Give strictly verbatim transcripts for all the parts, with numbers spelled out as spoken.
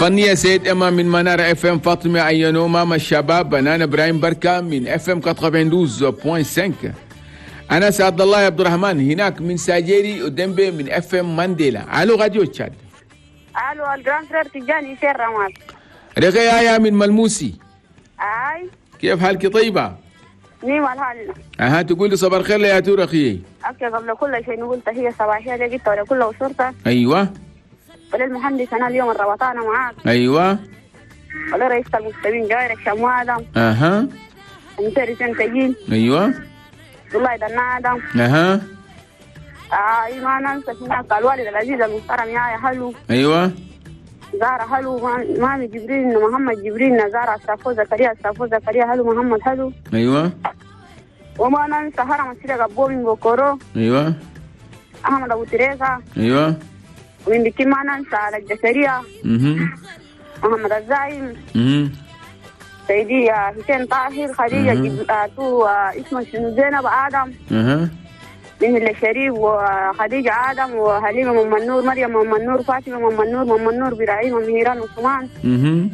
فنية سيد إما من منارة اف ام، فاطمة أيانو ماما الشباب، بنان إبراهيم بركة من اف ام تسعة وثمانين فاصلة خمسة، أنس عبد الله عبد الرحمن هناك من ساجيري ودمبي من اف ام مانديلا. الو راديو تشاد. الو ال grand frère تجاني سير رمال. رغي يا من ملموسي. اي كيف حالك طيبة؟ نيم الحال. اها تقول لي صباح الخير يا تور اخي. okay قبل كل شيء نقول تحية صباحية لك ولكل اسرتك. ايوه. وللمهندس انا اليوم الربطانة معاك. ايوه. ولرئيس المستمعين جايرك شمو ادم. اها. ومسيري سنتجين. ايوه. والله ده ادم. اها. اه ما ننسى هناك الوالد العزيز المحترم يا هلو. ايوه. زارة هلو مامي جبريل محمد جبريل زارة السافو زكريا السافو زكريا هلو محمد هلو. ايوه. وما ننسى هرم السيدة قبو من بوكورو. ايوه. احمد ابو تريزا. ايوه. ومن بكي ما ننسى على الجسرية. اها. محمد الزايم. اها. سيدي حسين طاهر خديجة جب... تو اسمه شنو زينب آدم. اها. من الشريف وخديجة آدم وحليمة مم النور مريم مم النور فاطمة مم النور مم النور براعيم مهيران عثمان. اها.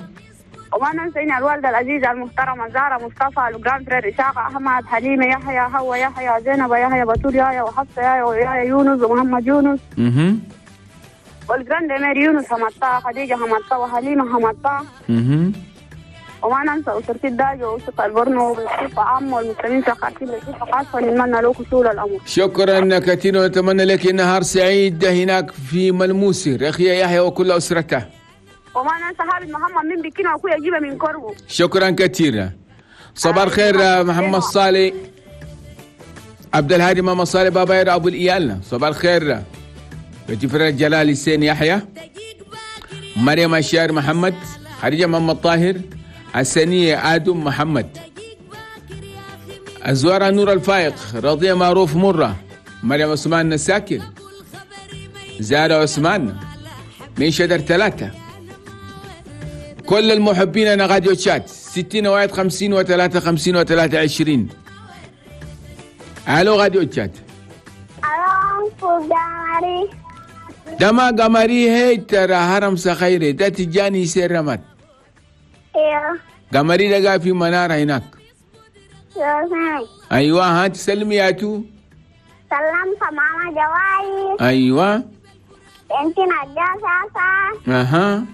وما ننسى إن الوالدة العزيزة المحترمة زارة مصطفى ال grand frère إسحاق أحمد حليمة يحيى هو يحيى زينب يحيى بتول يحيى وحفصة يحيى ويحيى يونس ومحمد يونس. اها. وال grand-mère يونس حمطة خديجة حمطة وحليمة حمطة. اها. وما ننسى أسرتي الداجة وأسرة البرنو وبالصفة عامة والمسلمين سخاتين بصفة خاصة نتمنى له حصول الأمر. شكرا كثيرا ونتمنى لك نهار سعيد هناك في ملموسي رخية يحيى وكل أسرته. وما ننسى حابد محمد من بكينا وأخويا جيبه من كربو. شكرا كثيرا. صباح الخير محمد صالح عبد الهادي ماما صالح بابا يا أبو الإيال. صباح الخير بتفرج جلال حسين يحيى مريم الشاعر محمد خديجة محمد طاهر حسنية آدم محمد أزوارة نور الفائق رضية معروف مرة مريم عثمان نساكن زارة عثمان من شجر ثلاثة. كل المحبين أنا راديو تشاد ستين واحد خمسين وثلاثة خمسين وثلاثة عشرين. ألو راديو تشاد. ألو قمري. دما قمري هي ترى هرم سخيري ده تجاني سير رمت. ايوه. قمري لقى في منارة هناك. ايوه ها تسلمي يا تو. سلمت ماما جواي. ايوه. انتي نجاة ساسا. اها.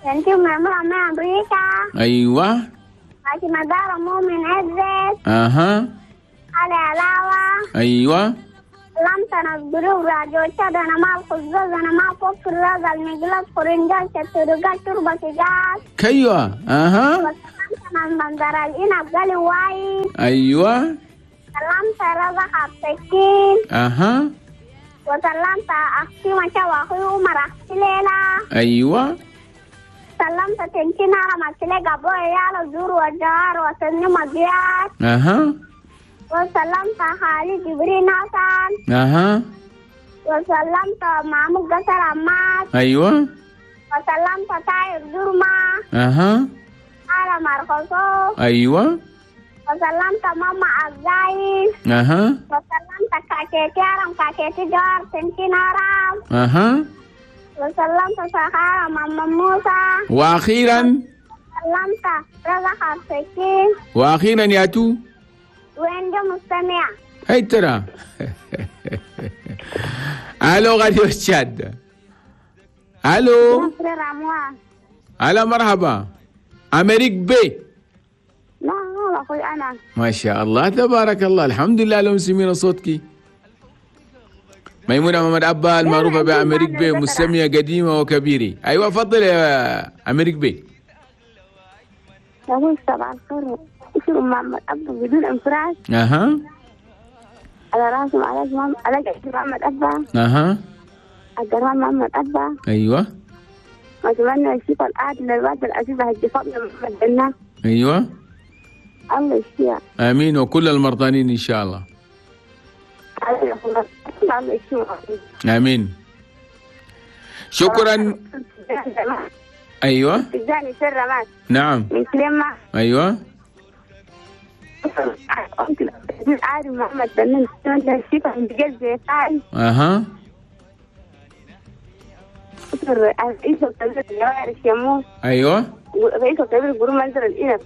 انتي ماما من امريكا. ايوه. انتي مدار مؤمن عزت. اها. علي علاوة. ايوه. لم تنظروا راديو تشاد انا مع الخزاز انا مع فوق الراز المجلس خرنجال شترقال تربة جاز. ايوه. اها. وسلمت من منظر الإنب قالي واي. ايوه. سلمت رزق السكين. اها. وسلمت اختي مشا واخوي عمر اختي ليلى. ايوه. سلمت تنتين على مسلك ابو عيال زور وجار وسني مجيات. اها. وسلمت خالي جبريل حسن. اها. وسلمت محمود قصر عماد. ايوه. وسلمت طاير جرمة. اها. على مرقصو. ايوه. وسلمت ماما عزاي. اها. وسلمت كاكيتي ارم كاكيتي جار تنتين ارم. اها. وسلمت سخارة ماما موسى. واخيرا سلمت رزق السكين. واخيرا يا تو وين جو مستمع؟ هاي ترى. الو غادي تشاد. الو. هلا مرحبا. امريك بي. لا لا اخوي انا. ما شاء الله تبارك الله الحمد لله لو سمينا صوتك. ميمونة محمد أبا المعروفة بأمريك بي مستمعة قديمة وكبيرة. أيوة فضل يا أمريك بي. أقول صباح الخير اسمه محمد أبا بدون انفراج. أها. على راسي على محمد على محمد أبا. أها. عبد الرحمن محمد أبا. أيوة. وأتمنى الشفاء العاجل للوالدة العزيزة حج فاطمة محمد بنا. أيوة. الله يشفيها. آمين وكل المرضانين إن شاء الله. آمين. شكرا. أيوة. نعم. من كلمة. أيوة. محمد بن أها. رئيس الكبير الجوائر الشموس. ايوه رئيس الكبير جروب منزل الإنب.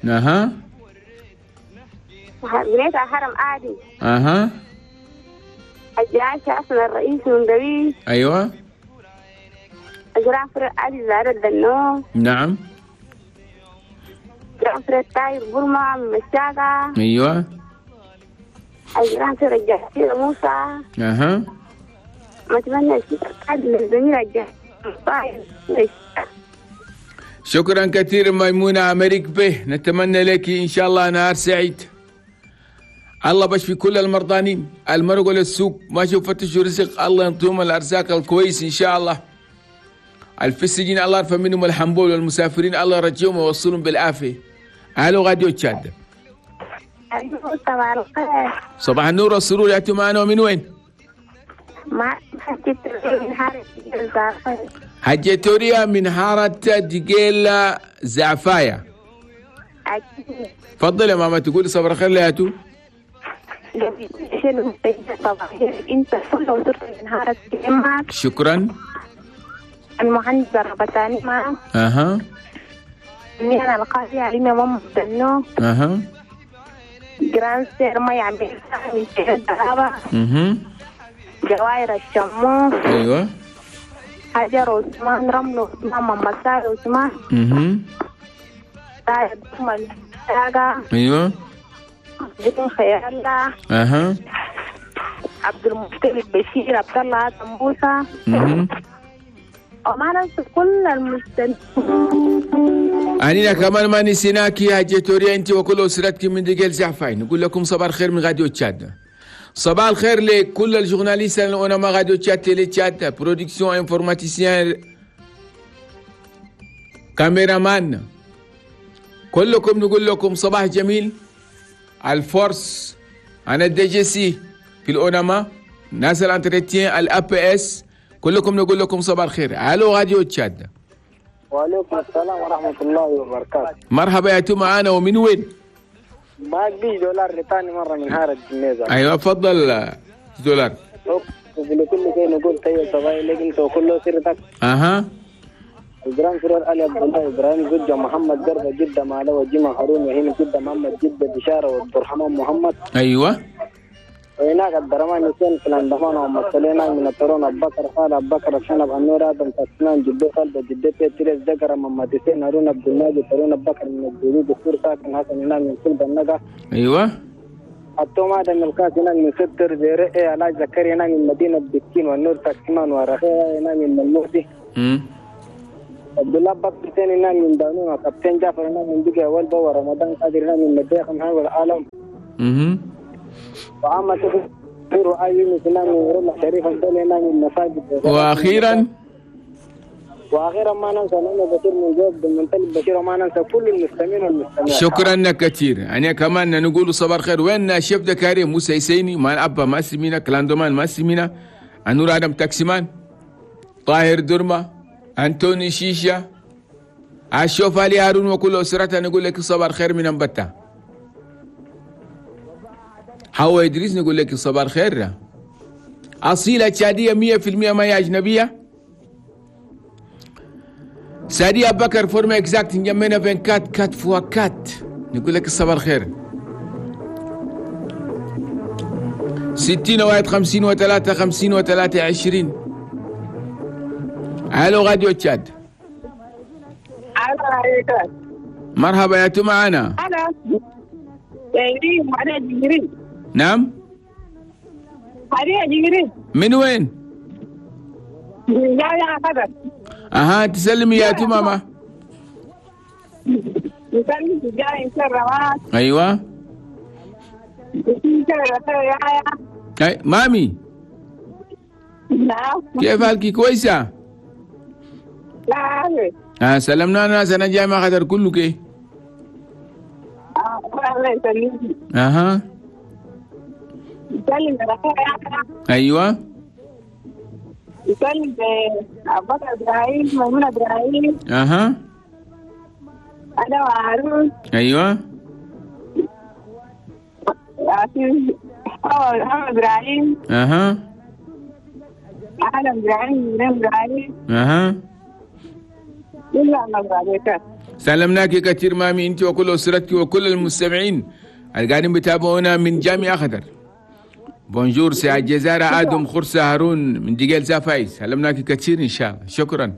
اها. بنيت حرم عادي. اها. الجعاشة أصلا الرئيس من دبي. ايوه. جرافر عادي زارة الدنو. نعم. جرافر التاير برما من مشاقة. ايوه. جرافر الجعاشة موسى. اها. أتمنى للزميل الجعاشة. شكرا كثير ميمونة أمريك به، نتمنى لك إن شاء الله نهار سعيد. الله بشفي كل المرضانين المرقوا للسوق ما شوف فتشوا رزق، الله ينطيهم الأرزاق الكويس إن شاء الله. الفي السجن الله يرفع منهم الحنبول، والمسافرين الله يرجيهم ويوصلهم بالعافية. ألو غاديو تشاد. صباح الخير. صباح النور والسرور، يا معنا ومن وين؟ مع حجة توريا من حارة دقيلة زعفايا. أكيد. تفضل يا ماما، تقولي صبر خير لياتو. انت كل وصرت من حارة معك. شكرا. المهندس الربطاني معك. اها. انا القاضي علي ماما دنو. اها. جراند سير ما يعمل من الدهابة. اها. جواير الشموس. ايوه. حجر عثمان، رمل عثمان، محمد عثمان. اها. ايوه. بدون خير الله. اها. عبد المطلب بشير، عبد الله آدم موسى. اها. وما ننسى كل المستمعين. أنينا كمان ما نسيناك يا جيتوريا أنت وكل أسرتك من دقيل زعفاين. نقول لكم صباح الخير من غاديو تشاد. صباح الخير لكل ال journalistes اللي أنا ما غاديو تشاد، télé تشاد، production، informaticien، caméraman، كلكم نقول لكم صباح جميل. ال force أنا ال DGC في الأونما، ناس ال entretien، ال APS، كلكم نقول لكم صباح الخير. الو غاديو تشاد. وعليكم السلام ورحمة الله وبركاته. مرحبا يا تو معانا ومن وين؟ معك بيش دولار لثاني مرة من هارة الجميزة. أيوة تفضل دولار. لكل شيء نقول طيب صباحي لك أنت وكل سيرتك. أها. إبراهيم سرور علي عبد الله إبراهيم جدة محمد قربة جدة معلوة جمع هارون وهنا جدة محمد جدة بشارة وعبد الرحمن محمد. أيوة. وهناك عبد الرحمن حسين في الاندمان ومثلنا من الترون أبو بكر خالد أبو بكر شنب النور آدم تسنان جدة خالد جدة تيريس ذكر محمد حسين هارون عبد الماجد هارون أبو بكر من الجديد دكتور ساكن حسن هناك من كل بنجا. أيوة. التوم آدم القاسم هناك من ستر زيرئي علاج زكريا هناك من مدينة بكين والنور تاكسمان ورخيا هناك من الموسي. امم عبد الله بكر حسين هناك من دانون وكابتن جعفر هناك من بقيا والبا ورمضان قادر هناك من مديخ محمد والعالم. امم واخيرا واخيرا ما ننسى انا بشير من جوب بالمنتلب بشير وما ننسى كل المستمعين والمستمعات. شكرا كثير. يعني كمان نقول صباح الخير. وين شيف دكاري موسى يسيني ما ابا ما سمينا كلاندومان ما سمينا انور ادم تاكسيمان طاهر درما انتوني شيشة اشوف علي هارون وكل اسرته. نقول لك صباح الخير من انبتا. حوا إدريس نقول لك صباح الخير. أصيلة تشادية مية في المية ما هي أجنبية. سادية بكر forme exacte نجمعنا بين quatre quatre fois quatre. نقول لك صباح الخير. ستين واحد خمسين وثلاثة خمسين وثلاثة عشرين. ألو غاديو تشاد. مرحبا يا تو معنا. نعم. من وين؟ اها تسلمي يا تو ماما. ايوه. أي مامي. كيف حالك كويسة؟ لا. اه سلمنا ناس انا جاي ما خدر كله كي. الله يسلمك. اها. ايوه. يسلم ابو بكر ابراهيم ميمونة ابراهيم. اها. انا وهارون. ايوه. محمد ابراهيم. اها. اهلا ابراهيم ابراهيم اها كلها مغربيتك. سلمناك كثير مامي، انت وكل اسرتك وكل المستمعين اللي قاعدين بيتابعونا من جامعة خضر. bonjour سي الجزارة ادم خرسة هارون من ديجيل زافايس، سلمناك كثير ان شاء الله. شكرا.